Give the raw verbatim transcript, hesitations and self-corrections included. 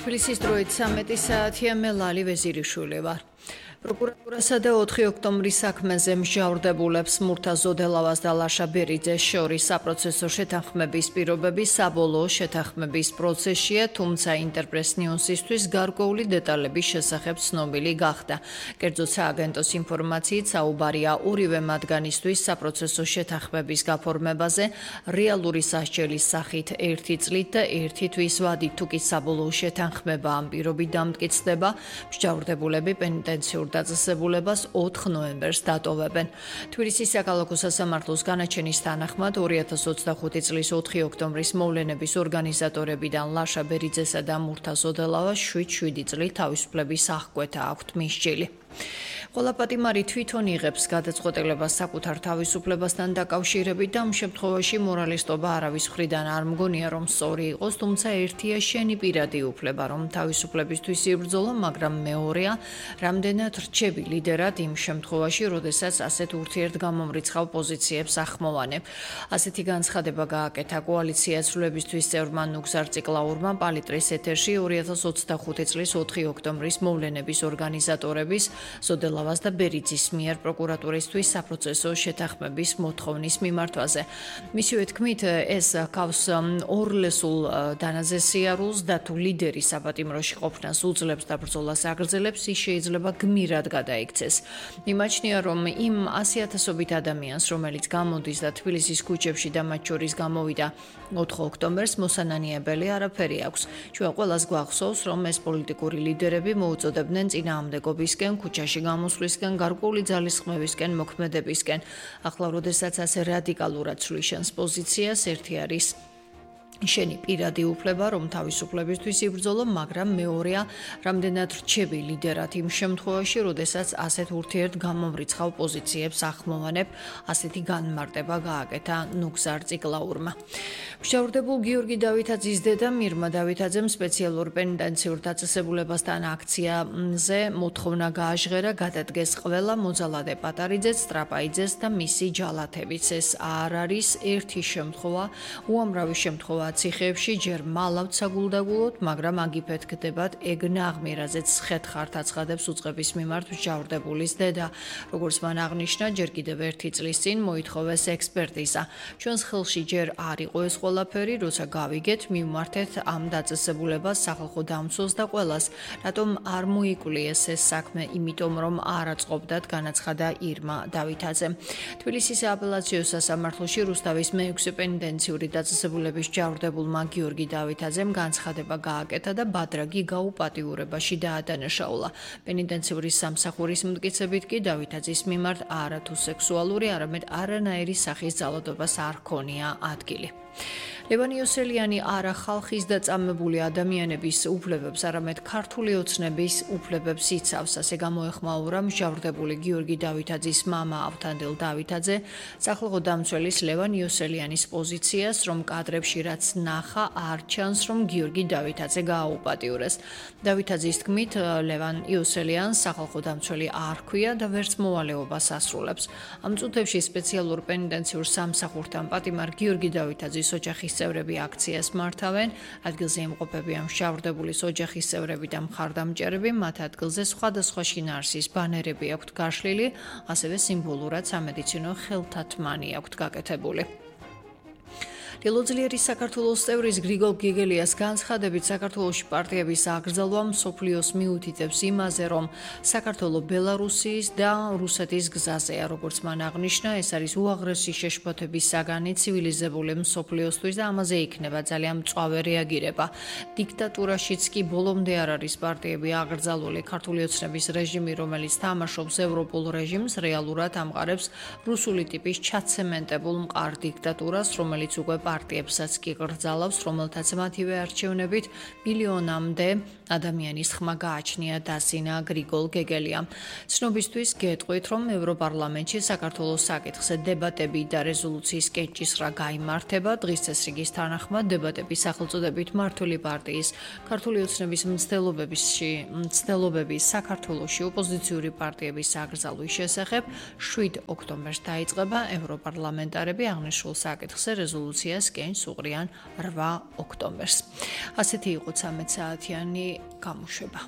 თბილისის დროით სამეტი საათია, მე ლალი ვეზირიშვილი ვარ. პროკურატურასა და ოთხი ოქტომბრის საქმეზე მსჯავრდებულებს მურთა ზოდელავას და ლაშა ბერიძეს შორის საპროცესო შეთანხმების პირობები საბოლოო შეთანხმების პროცესშია, თუმცა ინტერპრეს ნიუსისთვის გარკვეული დეტალების შესახებ ცნობილი გახდა. კერძოდ სააგენტოს ინფორმაციით საუბარია ორივე მათგანისთვის საპროცესო შეთანხმების გაფორმებაზე რეალური სასჯელის სახით ერთი წლით და ერთი თვის ვადით, თუ კი საბოლოო შეთანხმება ამ პირობით დამტკიცდება, მსჯავრდებულები პენიტენციურ დაწესებულებას ოთხ ნოემბერს დატოვებენ. თბილისის საქალაქო სასამართლოს განაჩენის თანახმად ორი ათას ოცდახუთი წლის ოთხი ოქტომბრის მოვლენების ორგანიზატორებიდან ლაშა ბერიძესა და მურთა ზოდელავას შვიდ შვიდი წლით თავისუფლების აღკვეთა აქვთ მისჯილი. ყველა პატიმარი თვითონ იღებს გადაწყვეტილებას საკუთარ თავისუფლებასთან დაკავშირებით და ამ შემთხვევაში მორალისტობა არავის მხრიდან არ მგონია, რომ სწორი იყოს, თუმცა ერთია შენი პირადი უფლება, რომ თავისუფლებისთვის იბრძოლო, მაგრამ მეორეა, რამდენად რჩები ლიდერად იმ შემთხვევაში, როდესაც ასეთ ურთიერთგამომრიცხავ პოზიციებს ახმოვანებ. ასეთი განცხადება გააკეთა კოალიცია ცვლილებისთვის წევრმა ნუგზარ ციკლაურმა პალიტრის ეთერში ორი ათას ოცდახუთი წლის ოთხი ოქტომბრის მოვლენების ორგანიზატორების ზოდელავას და ბერიძის მიერ პროკურატურისთვის საპროცესო შეთანხმების მოთხოვნის მიმართვაზე. მისივე თქმით, ეს ჰგავს ორლესულ დანაზე სიარულს და თუ ლიდერი საპატიმროში ყოფნას უძლებს და ბრძოლას აგრძელებს, ის შეიძლება გმირად გადაიქცეს. იმაჩნია, რომ იმ ასი ათასობით ადამიანს, რომელიც გამოდის და თბილისის ქუჩებში და მათ შორის გამოვიდა ოთხ ოქტომბერს, მოსანანიებელი არაფერი აქვს. ჩვენ ყველას გვახსოვს, რომ ეს პოლიტიკური ლიდერები მოუწოდებდნენ წინააღმდეგობისკენ, ქუჩაში გამოსვლისკენ, გარკვეული ძალისხმევისკენ, მოქმედებისკენ. ახლა, როდესაც ასე რადიკალურად ცვლიშენს პოზიციას, ერთი არის შენი პირადი უფლება, რომ თავისუფლებისთვის იბრძოლო, მაგრამ მეორეა, რამდენად რჩები ლიდერად იმ შემთხვევაში, როდესაც ასეთ ურთიერთგამომრიცხავ პოზიციებს ახმოვანებ, ასეთი განმარტება გააკეთა ნუგზარ ციკლაურმა. მსჯავრდებულ გიორგი დავითაძის დედა მირმა დავითაძემ სპეციალურ პენიტენციურ დაწესებულებასთან აქციაზე მოთხოვნა გააჟღერა, გადადგეს ყველა მოძალადე პატარიძეც, სტრაპაიძეს და მისი ჯალათებიც. ეს არ არის ერთი შემთხვევა, უამრავი შემთხვევა ციხეებში ჯერ მალავთ საგულდაგულოდ, მაგრამ აგიფეთ გდებათ ეგ ნაღმი, რაზეც ხეთხართ აცხადებს უწყების მიმართ მსჯავრდებულის დედა. როგორც მან აღნიშნა, ჯერ კიდევ ერთი წლის წინ მოითხოვეს ექსპერტიზა. ჩვენს ხელში ჯერ არ იყო ეს ყველაფერი, როცა გავიგეთ, მივმართეთ ამ დაწესებულებას სახალხო დამცველს და ყველას, რატომ არ მოიკვლიეს ეს საქმე, იმიტომ რომ არ აწყობდათ, განაცხადა ირმა დავითაძემ. თბილისის სააპელაციო სასამართლოში რუსთავის მეექვსე პენიტენციური დაწესებულების მსჯავრდებულმა გიორგი დავითაძემ განცხადება გააკეთა და ბადრაგი გაუპატიურებაში დაადანაშაულა. პენიტენციური სამსახურის მტკიცებით კი დავითაძის მიმართ არა თუ სექსუალური, არამედ არანაირი სახის ძალადობას არ ჰქონია ადგილი. ლევან იოსელიანი არა ხალხის და წამებული ადამიანების უფლებებს, არამედ ქართული ოცნების უფლებებს იცავს, ასე გამოეხმაურა მსჯავრდებული გიორგი დავითაძის მამა ავთანდილ დავითაძე სახალხო დამცველის ლევან იოსელიანის პოზიციას, რომ კადრებში რაც ნახა, არ ჩანს, რომ გიორგი დავითაძე გააუპატიურეს. დავითაძის თქმით, ლევან იოსელიანს სახალხო დამცველი არ ჰქვია და ვერც მოვალეობას ასრულებს. ამ წუთებში სპეციალურ პენიტენციურ სამსახურთან პატიმარ გიორგი დავითაძის ოჯახის წევრები აქციას მართავენ, ადგილზე იმყოფებიან მსჯავრდებულის ოჯახის წევრები და მხარდამჭერები, მათ ადგილზე სხვადასხვა შინაარსის ბანერები აქვთ გაშლილი, ასევე სიმბოლურად სამედიცინო ხელთათმანი აქვთ გაკეთებული. დილოძლიერის საქართველოს წევრის გრიგოლ გეგელიას განცხადებით, საქართველოში პარტიების აკრძალვა მსოფლიოს მიუთითებს იმაზე, რომ საქართველო ბელარუსიის და რუსეთის გზაზეა, როგორც მან აღნიშნა, ეს არის უაღრესი შეშფოთების საგანი ცივილიზებული მსოფლიოსთვის და ამაზე იქნება ძალიან მწვავე რეაგირება. დიქტატურაშიც კი ბოლომდე არ არის პარტიები აკრძალული. ქართული ოცნების რეჟიმი, რომელიც თამაშობს ევროპულ რეჟიმს, რეალურად ამყარებს რუსული ტიპის ჩაცემენტებულ მყარ დიქტატურას, რომელიც უკვე პარტიებსაც კი გრძალავს, რომელთაც მათივე არჩევნებით მილიონამდე ადამიანის ხმა გააჩნია, დასინა გრიგოლ გეგელიამ. ცნობისთვის გეტყვით, რომ ევროპარლამენტში საქართველოს საკითხზე დებატები და რეზოლუციის კენჭისყრა გაიმართება. დღის წესრიგის თანახმად დებატების სახელწოდებით მმართველი პარტიის ქართული ოცნების მცდელობებში მცდელობების საქართველოში ოპოზიციური პარტიების აკრძალვის შესახებ შვიდ ოქტომბერს დაიწყება. ევროპარლამენტარები აღნიშნულ საკითხზე რეზოლუცია პარკიას კენს უყრიან რვა ოქტომბერს. ასეთი იყო ცამეტ საათიანი გამოშვება.